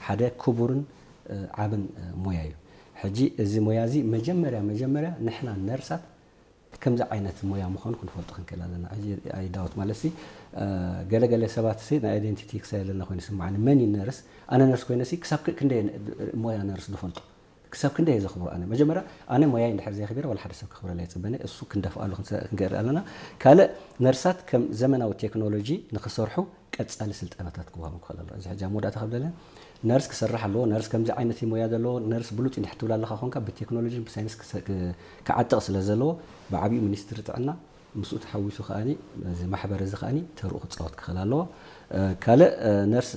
ሓደ ክቡርን ዓብን ሞያ እዩ። ሕጂ እዚ ሞያ እዚ መጀመርያ መጀመርያ ንሕና ነርሳት ከምዚ ዓይነት ሞያ ምዃኑ ክንፈልጦ ክንክእል ኣለና። ሕጂ ኣይዳውት ማለት ሲ ገለገለ ሰባት ሲ ናይ ኣይደንቲቲ ክሳይ ኣለና ኮይኑ ስምዓኒ፣ መን እዩ ነርስ? ኣነ ነርስ ኮይነ ሲ ክሳብ ክንደይ ሞያ ነርስ ዝፈልጦ? ክሳብ ክንደይ ዘኽብሩ ኣነ መጀመርያ ኣነ ሞያይ እንድሕር ዘየኽቢረ ዋላ ሓደ ሰብ ክኽብረላ ይፅበኒ። እሱ ክንደፍኣሉ ክንገር ኣለና። ካልእ ነርሳት ከም ዘመናዊ ቴክኖሎጂ ንክሰርሑ ቀጻሊ ስልጠናታት ክወሃቡ ክኽእል ኣለዎ። እዚ ሕጂ ኣብ መወዳእታ ከብለለ ነርስ ክሰርሕ ኣለዎ። ነርስ ከምዚ ዓይነት ሞያ ዘለዎ ነርስ ብሉፅ እንድሕር ትብል ኣለካ ኮንካ ብቴክኖሎጂ ብሳይንስ ክዓጥቕ ስለ ዘለዎ ብዓብዩ ሚኒስትሪ ጥዕና ምስኡ ተሓዊሱ ከዓኒ እዚ ማሕበር እዚ ከዓኒ ተርኡ ክፃወት ክኽእል ኣለዎ። ካልእ ነርስ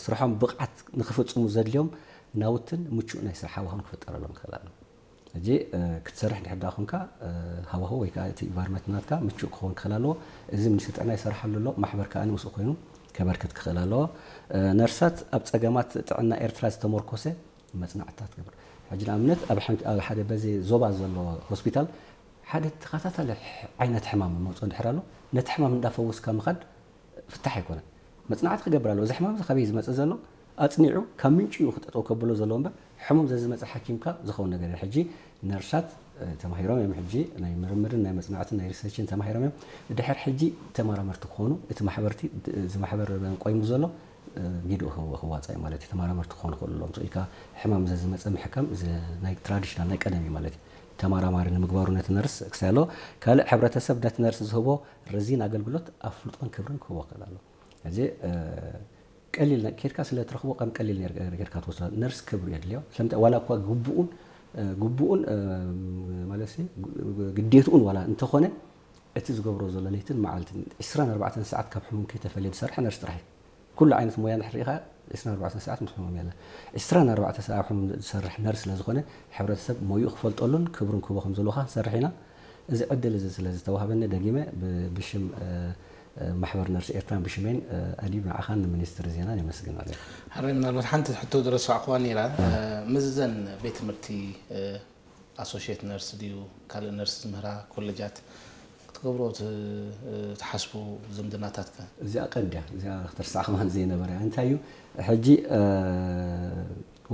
ስርሖም ብቕዓት ንክፍፅሙ ዘድልዮም ናውትን ምቹእ ናይ ስራሕ ሃዋህውን ክፍጠረሎም ክኽእል ኣለዎ። ሕጂ ክትሰርሕ እንድሕር ደኣ ኮንካ ሃዋህው ወይ ከዓ እቲ ኢንቫይሮንመንት ናትካ ምቹእ ክኸውን ክኽእል ኣለዎ። እዚ ሚኒስትሪ ጥዕና ይሰርሓሉ ኣሎ፣ ማሕበር ከዓ ምስኡ ኮይኑ ከበርክት ክኽእል ኣለዎ። ነርሳት ኣብ ፀገማት ጥዕና ኤርትራ ዝተመርኮሰ መፅናዕትታት ትገብር። ሕጂ ንኣብነት ኣብ ሓደ በዚ ዞባ ዘሎ ሆስፒታል ሓደ ተኸታታሊ ዓይነት ሕማም መፅኦ እንድሕር ኣሎ ነቲ ሕማም እንዳፈወስካ ምኻድ ፍታሕ ኣይኮነን። መፅናዕቲ ክገብር ኣለዎ። እዚ ሕማም እዚ ካበይ ዝመፅእ ዘሎ ኣፅኒዑ ካብ ምንጭኡ ክጠጠው ከብሎ ዘለዎ እምበር ሕሙም ዘዝመፀ ሓኪምካ ዝኸውን ነገር እዩ። ሕጂ ነርሳት ተማሂሮም እዮም። ሕጂ ናይ ምርምርን ናይ መፅናዕትን ናይ ሪሰርችን ተማሂሮም እዮም። ድሕር ሕጂ ተመራመርቲ ክኾኑ እቲ ማሕበርቲ እዚ ማሕበር ቆይሙ ዘሎ ጊድኡ ክዋፃእ እዩ ማለት እዩ። ተመራመርቲ ክኾኑ ክእሉ ኣለዎም። ኢልካ ሕማም ዘዝመፀ ምሕካም ናይ ትራዲሽናል ናይ ቀደም እዩ ማለት እዩ። ተመራማሪ ንምግባሩ ነቲ ነርስ ክሳይ ኣለዎ። ካልእ ሕብረተሰብ ነቲ ነርስ ዝህቦ ረዚን ኣገልግሎት ኣፍልጦን ክብርን ክህቦ ክእል ኣሎ። እዚ ቀሊል ኬድካ ስለ ትረኽቦ ከም ቀሊል ጌርካ ትወስዶ። ነርስ ክብሪ የድልዮ። ስለምንታይ ዋላ እኳ ግቡኡን ግቡኡን ማለት ግዴትኡን ዋላ እንተኾነ እቲ ዝገብሮ ዘሎ ለይትን መዓልትን ዕስራን ኣርባዕተን ሰዓት ካብ ሕሙም ከይተፈለየ ዝሰርሕ ነርስ ጥራሕ እዩ። ኩሉ ዓይነት ሞያ እንድሕር ርኢኻ ዕስራን ኣርባዕተን ሰዓት ምስ ሕሙም የለ። ዕስራን ኣርባዕተ ሰዓት ኣብ ሕሙም ዝሰርሕ ነርስ ስለ ዝኾነ ሕብረተሰብ ሞይኡ ክፈልጠሉን ክብሩን ክህቦ ከም ዘለዎ ክንሰርሕ ኢና። እዚ ዕድል እዚ ስለ ዝተዋህበኒ ደጊመ ብሽም ማሕበር ነርስ ኤርትራን ብሽሜን ኣድዩ ንዓኻን ንሚኒስትሪ ዜናን የመስግን ማለት እዩ። ሕራይ ምናልባት ሓንቲ ሕቶ ዝረሳዕኩዋ ነይራ። ምስዘን ቤት ትምህርቲ ኣሶሽየት ነርስ ድዩ ካልእ ነርስ ዝምህራ ኮሌጃት ክትገብሮ ትሓስቡ ዝምድናታት ከ? እዚኣ ቀንዲ እያ። እዚኣ ክትርሳዕ ከማን ዘይነበረ እያ። እንታይ እዩ ሕጂ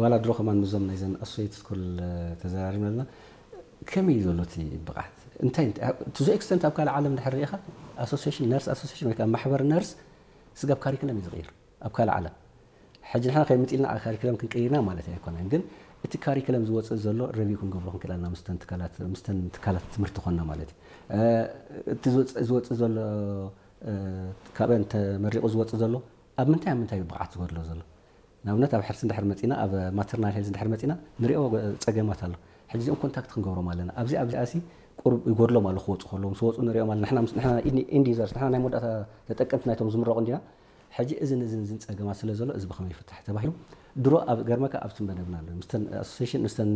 ዋላ ድሮ ከማን ምዞም ናይዘን ኣሶሽየት ስኩል ተዘራሪብና ኣለና። ከመይ እዩ ዘሎ እቲ ብቕዓት እንታይ to the extent ኣብ ካልእ ዓለም ድሕር ርኢኻ ኣሶሲሽን ነርስ ኣሶሲሽን ወይ ከዓ ማሕበር ነርስ ስጋብ ካሪክለም እዩ ዝቕይር ኣብ ካልእ ዓለም። ሕጂ ንሕና ከይምፅልና ካሪክለም ክንቀይርና ማለት ኣይኮነን፣ ግን እቲ ካሪክለም ዝወፅእ ዘሎ ረቪው ክንገብሮ ክንክእል ኣለና ምስተን ትካላት ትምህርቲ ኮንና ማለት እዩ። እቲ ዝወፅእ ዘሎ ካብአን ተመሪቑ ዝወፅእ ዘሎ ኣብ ምንታይ ኣብ ምንታይ ብቕዓት ዝጎድሎ ዘሎ? ንኣብነት ኣብ ሕርሲ እንድሕር መፂና ኣብ ማተርናል ሄልዝ እንድሕር መፂና ንሪኦ ፀገማት ኣሎ። ሕጂ እዚኦም ኮንታክት ክንገብሮም ኣለና። ኣብዚ ኣብዚ ኣሲ ቁሩብ ይጎድሎም ኣሎ ክወፁ ከለዎም ዝወፁ ንሪኦም ኣለና። ንሕና ኢንድ ዩዘርስ ንሕና ናይ መወዳእታ ተጠቀምቲ ናይቶም ዝምረቑ እንዲና። ሕጂ እዝን እዝን እዝን ፀገማት ስለ ዘሎ እዚ ብኸመይ ይፍታሕ ተባሂሉ ድሮ ኣብ ገርመካ ኣብቲ መደብና ኣሎ ምስተን ኣሶሴሽን ምስተን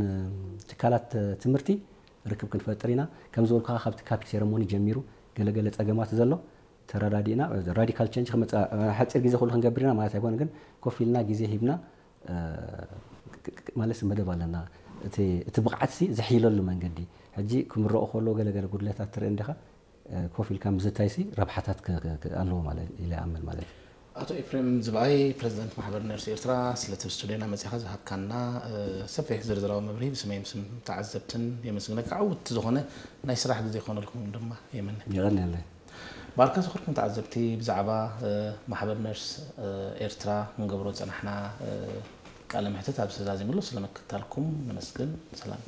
ትካላት ትምህርቲ ርክብ ክንፈጥር ኢና። ከም ዝበልኩኻ ካብቲ ካፒ ሴረሞኒ ጀሚሩ ገለገለ ፀገማት ዘሎ ተረዳዲእና ራዲካል ቸንጅ ክመፅእ ሓፂር ግዜ ኩሉ ክንገብር ኢና ማለት ኣይኮነ ግን ኮፍ ኢልና ግዜ ሂብና ማለት መደብ ኣለና። እቲ ብቕዓት ሲ ዝሕይለሉ መንገዲ ሕጂ ክምረቑ ከሎ ገለገለ ጉድለታት ትርኢ እንዲኻ ኮፍ ኢልካ ምዝታይ ሲ ረብሓታት ኣለዎ ማለት ኢለ ኣምን ማለት እዩ። ኣቶ ኤፍሬም ዝብኣይ ፕሬዚደንት ማሕበር ነርስ ኤርትራ ስለቲ ስቱድዮና መፅኻ ዝሃብካና ሰፊሕ ዝርዝራዊ መብርሂ ብስመይ ምስም ተዓዘብትን የመስግነካ። ዕውት ዝኾነ ናይ ስራሕ ግዜ ይኾነልኩም ድማ የመነ። የቐንየለይ። ባርካ ዝኾንኩም ተዓዘብቲ ብዛዕባ ማሕበር ነርስ ኤርትራ ክንገብሮ ዝፀናሕና ቃለ መሕትት ኣብዚ ተዛዚምሉ ስለምክታልኩም ነመስግን። ሰላም።